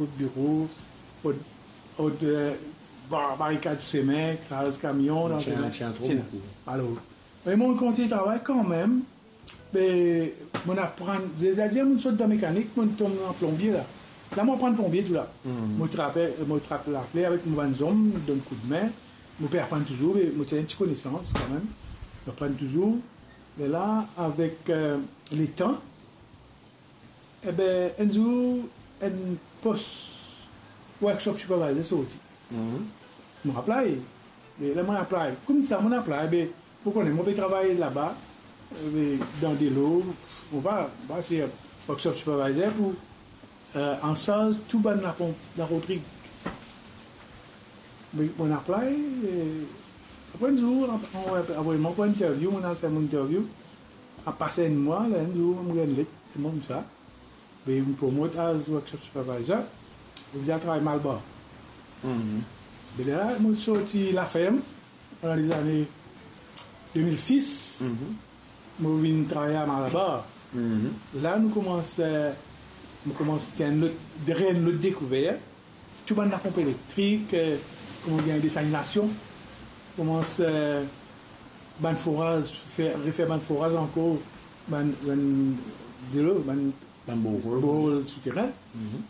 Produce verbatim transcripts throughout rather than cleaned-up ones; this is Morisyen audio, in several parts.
rod biro, rod, rod, eh, ba-, barikad semin, kraz kamion dan semin. Ti ena tro boukou. Alor, me mo kontign travay kanmem. Be, mo aprann, zis dir mo sot dan mekanik, mo tom dan plonbie la. La, mo aprann plonbie tou la. Mo trape, mo trap lafler avek mo bann zom, donn koudme. Mo pe aprann touzour, be mo ti ena enn ti konesans kanmem. Mo aprann touzour. Me la, avek, eh, letan, ebe, enn zour, enn pos workshop supervisor sorti. Mo apply. Me la mo apply. Koumsa mo apply, be, ou kone, mo pe travay laba, eh, be, dan delo, mo pa, mo pa se workshop supervisor pou, eh, ansarz tou bann laponp dan Rodrig. Me mo apply, eh, apre enn zour, apre, apre mo pran interview, mo al fer mo interview. Apre enn mwa, la, enn zour, mo gagn let, se mo koumsa. Be, inn promot as workshop supervisor, mo vinn al travay Malbar. Be la, mo sorti laferm, dan lezane de mil sis, mo vinn travay a Malbar. La, nou koumans, eh, nou koumans gagn lot, gagn lot dekouver. Tou bann laponp elektrik, eh, kouma gagn desalinasion, koumans, eh, bann foraz, fer, refer bann foraz ankor, bann, bann delo, bann borehole, borehole souterin.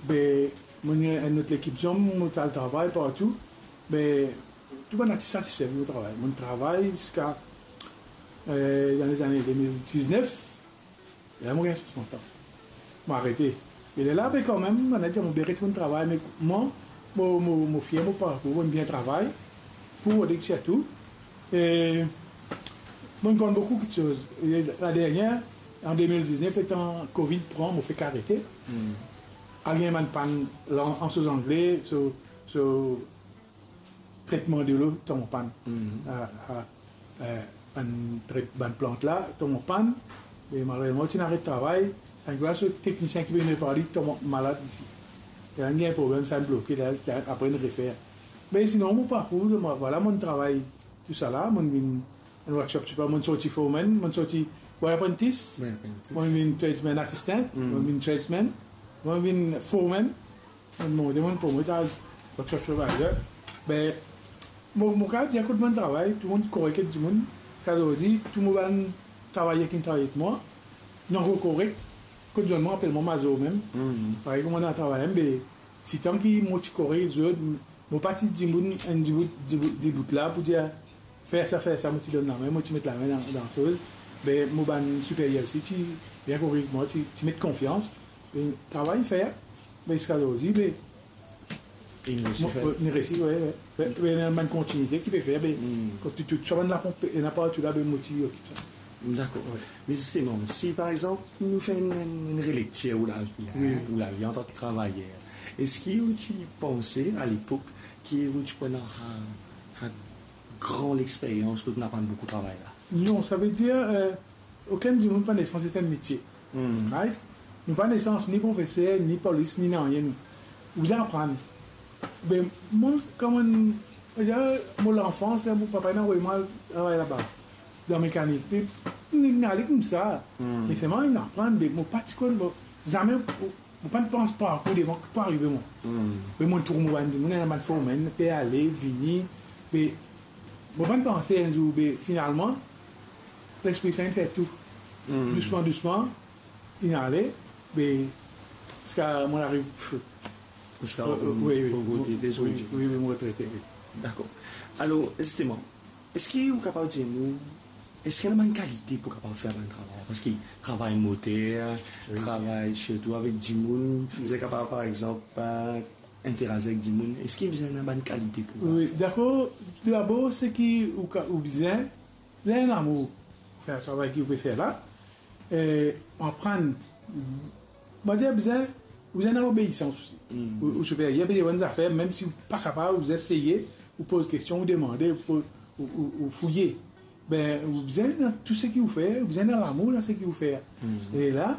Be, mo ena enn lot lekip zom, mo al travay partou. Be, tou bann la ti satisfe mo travay. Mo travay ziska, eh, dan lezane de mil diznef. La, mo gagn swasant an. Mo arete. Me lerla, be, kanmem, mo dir mo pe retourn travay, me mwa, mo, mo, mo fier mo parkour, mo bien travay pou Rodrig sirtou. E mo konn boukou kiksoz. E la dernie, an de mil diznef, letan Covid pran, mo fek arete. Al gagn bann pann lan, an soz angle, so, so, tretman delo tom an pann. A, a, eh, bann tret-, bann plant la tom an pann. Me malerezman, ti inn aret travay. Sa enn klas teknisien ki pe vinn repar li tom malad isi. Li inn gagn problem, sa inn bloke la, apre inn refer. Me sinon, mo parkour, mo, vwala, mo travay tousala, mo vinn enn workshop, ti pa, mo sorti foreman, mo sorti boy apprentice, mo vinn tradesman assistant, mo vinn tradesman, mo vinn foreman. Mo monte, mo promot as workshop supervisor. Be, mo, mo kapav dir kot mo travay, tou dimoun korek ek dimoun. Ziska zordi, tou mo bann travayer ki travay ek mwa, nou ankor korek. Kot zot, mo apel mwa mazor mem. Parey kouma nou travay, be, sitan ki mo ti korek zot, mo pa ti dimoun, enn dibout, dibout, dibout la pou dir, fer sa, fer sa, mo ti donn lame, mo ti met lame dan, dan soz. Be, mo bann siperyer osi ti bien korek ek mwa, ti, ti met konfians. Be, travay fer, be, ziska zordi, be, inn resi fer. Inn resi, wi, wi. Be, be, ena bann kontinite ki pe fer, be, kot tou, tou, sa bann laponp, ena partou la, be, mo ti okip sa. Dakor. Wi. Me zisteman, si par exanp, nou fer enn, enn, enn relektir ou lavi, wi, ou lavi antan ki travayer, eski ou ti panse, a lepok, ki ou ti pou ena, a, a gran lexperyans, kot ou inn aprann boukou travay la? Non, savedir, eh, okenn dimoun pa nesans et enn metie. Right? Nou pa nesans ni profeser, ni polis, ni nanye nou. Ou bizin aprann. Be, mwa, kouma, mo lanfans, mo papa inn avoy mwa travay laba, dan mekanik. Be, mo inn ale koumsa. Me selman inn aprann, be, mo pa ti konn, mo, zame, mo, mo pa pans parkour devan ki pou arive mwa. Be mo trouv mo bann dimoun, ena bann foreman, pe ale, vini, be mo pa panse enn zour, be finalman, Lespri Sin inn fer tou. Dousman, dousman, inn ale, be, ziska mo ariv, ziska, wi, wi, mo, wi, wi, mo retrete, wi. Dakor. Alor, zisteman, eski ou kapav dir nou, eski ena bann kalite pou kapav fer bann travay? Paski travay moter, wi, travay sirtou avek dimoun, ou bizin kapav, par exanp, eh, interazir avek dimoun, eski bizin ena bann kalite pou... Wi, dakor. Toudabor, seki ou ka, ou bizin, bizin lamour pou fer travay ki ou pe fer la. Eh, aprann, mo dir bizin, bizin ena obeisans osi. Ou, ou siperyer pe dir ou enn zafer, mem si ou pa kapav, ou bizin eseye, ou poz kestion, ou demande, ou poz, ou, ou, ou fouye. Be, ou bizin dan tou seki ou fer, ou bizin ena lamour dan seki ou fer. E la,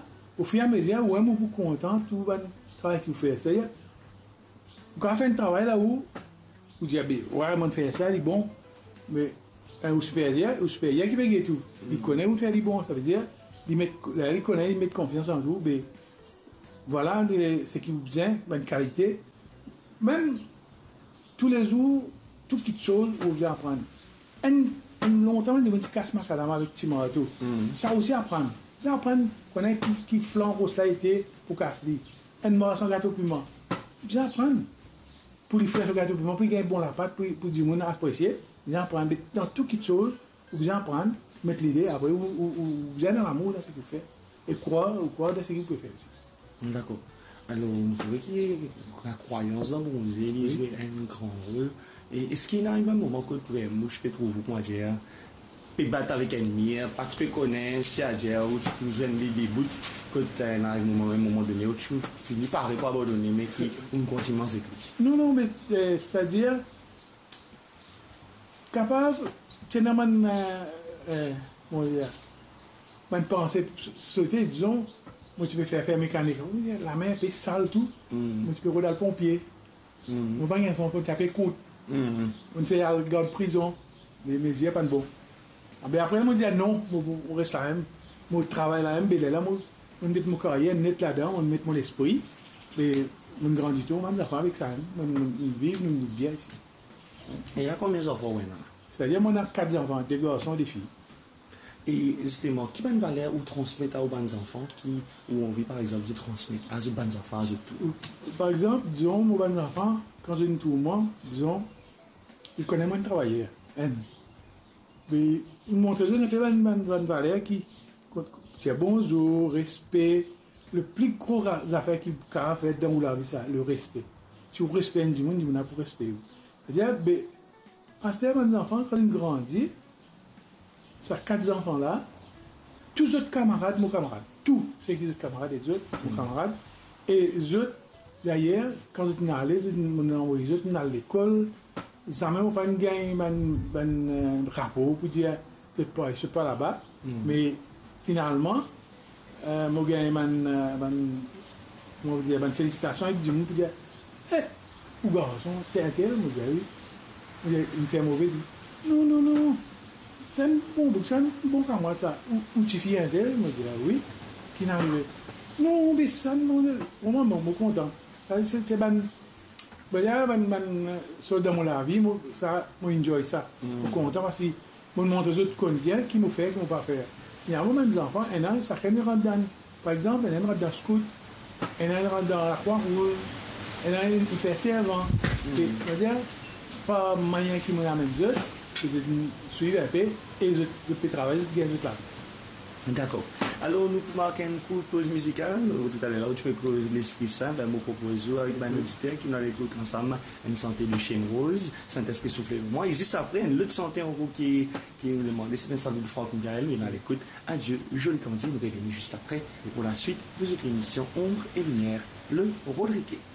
ofiramezir, ou mem ou pou kontan tou bann travay ki ou fer. Setadir, ou kapav fer enn travay la ou, ou dir, "Be, wi, mo fer sa, li bon." Me, eh, ou siperyer, ou siperyer ki pe get ou, li kone ou fer li bon, savedir, li met, li kone, li met konfians an ou, be, Vwala, le, seki ou bizin, bann kalite. Mem toulezour, tou kitsoz ou bizin aprann. Enn, enn lontan, dimoun ti kas makadam avek ti marto. Hmm. Sa osi aprann. Bizin aprann kone ki, ki flan ros la ete pou kas li. Enn marsan gato piman. Bizin aprann. Pou li fer so gato piman, pou li gagn bon lapat, pou, pou dimoun apresie, bizin aprann. Me dan tou kitsoz, ou bizin aprann, met lide, apre ou, ou, ou bizin dan lamour dan seki ou fer. E krwar, ou krwar dan seki ou pe fer osi. Dakor. Alor, mo trouve ki lakrwayans dan Bondie, li zwe enn gran rol. E eski ena ariv enn moman kot vremem ou ti pe trouv ou, kouma dir, pe bat avek enn mir, pa ti pe kone si adir ou ti pou zwenn li debout, kot, eh, ena ariv moman, enn moman done, ou ti fini pare pou abandone, me ki ou kontign mars ek li? Non, non, me, eh, setadir, kapav, ti ena bann, eh, eh, kouma dir, bann panse sote, dizon, mo ti pe fer, fer mekanik, lame inpe sal tou, mo ti pe rod al ponpie. Mo pa gagn son kot, ti ape kout. Mo ti al gard prizon, me, me zie pa'nn bon. Abe apre, mo dir non, mo, mo, mo res la mem, mo travay la mem, be lerla mo, mo met mo karyer net ladan, mo met mo lespri, be mo grandi tou, mo bann zanfan avek sa, mo, mo, mo viv, mo, mo bien isi. E la, konbien zanfan ou ena? Setadir, mo ena kat zanfan, de garson, de fi. E zisteman, ki bann valer ou transmet a ou bann zanfan ki ou anvi, par exanp, dir transmet a zot bann zanfan, a zot tour? Par exanp, dizon, mo bann zanfan, kan zot inn trouv mwa, dizon, li kone mwa enn travayer, enn. Me, mo montre zot inpe bann, bann, bann valer ki, kot, dir bonzour, respe, le pli gro ra-, zafer ki kapav fer dan ou lavi sa, le respe. Si ou respe enn dimoun, dimoun la pou respe ou. Setadir, be, aster bann zanfan, kan inn grandi, sa kat zanfan la, tou zot kamarad, mo kamarad. Tou seki zot kamarad ek zot, mo kamarad. E zot, dayer, kan zot inn ale, zot, mo inn avoy zot, inn al lekol, zame mo pa'nn gagn bann, bann, eh, rapor pou dir, zot pa, zot pa laba. Me finalman, eh, mo gagn bann, eh, bann, kouma dir, bann felisitasion ek dimoun pou dir, "Eh, ou garson, ti entel?" Mo dir, "Wi." Mo dir, "Inn fer move?" Li, "Non, non, non. Sa enn bon boug, sa enn bon kamarad sa. Ou, ou tifi entel?" Mo dir, "Wi." "Ki inn arive?" "Non, be sa, non, non." Mo, mo, mo kontan. Sa, se, se bann, bann, bann, bann, eh, sort dan mo lavi, mo, sa, mo enjoy sa. Mo kontan parski mo montre zot konbien ki mo fer, ki mo pa fer. Finalman, bann zanfan, ena, sakenn rant dan, par exanp, ena rant dan skout, ena rant dan Lakrwa Rouz, ena inn fer servan. E, setadir, par manier ki mo amenn zot, ki zot swiv inpe, e zot, zot pe travay, zot gagn zot lavi. Dakor. Alor, nou pou mark enn kourt poz mizikal. Toutaler la, ou ti pe koz Lespri Sin, be, mo propoz ou avek bann oditer ki nou al ekout ansam enn sante de Shane Rose, Saint-Esprit souffle en moi. E zis apre, enn lot sante ankor ki, ki nou demande, se enn sante de Franck Michael, nou al ekout Adieu, jolie candide. Nou revini zis apre pou la suite de zot lemision Ombre et Lumière, le Rodriguet.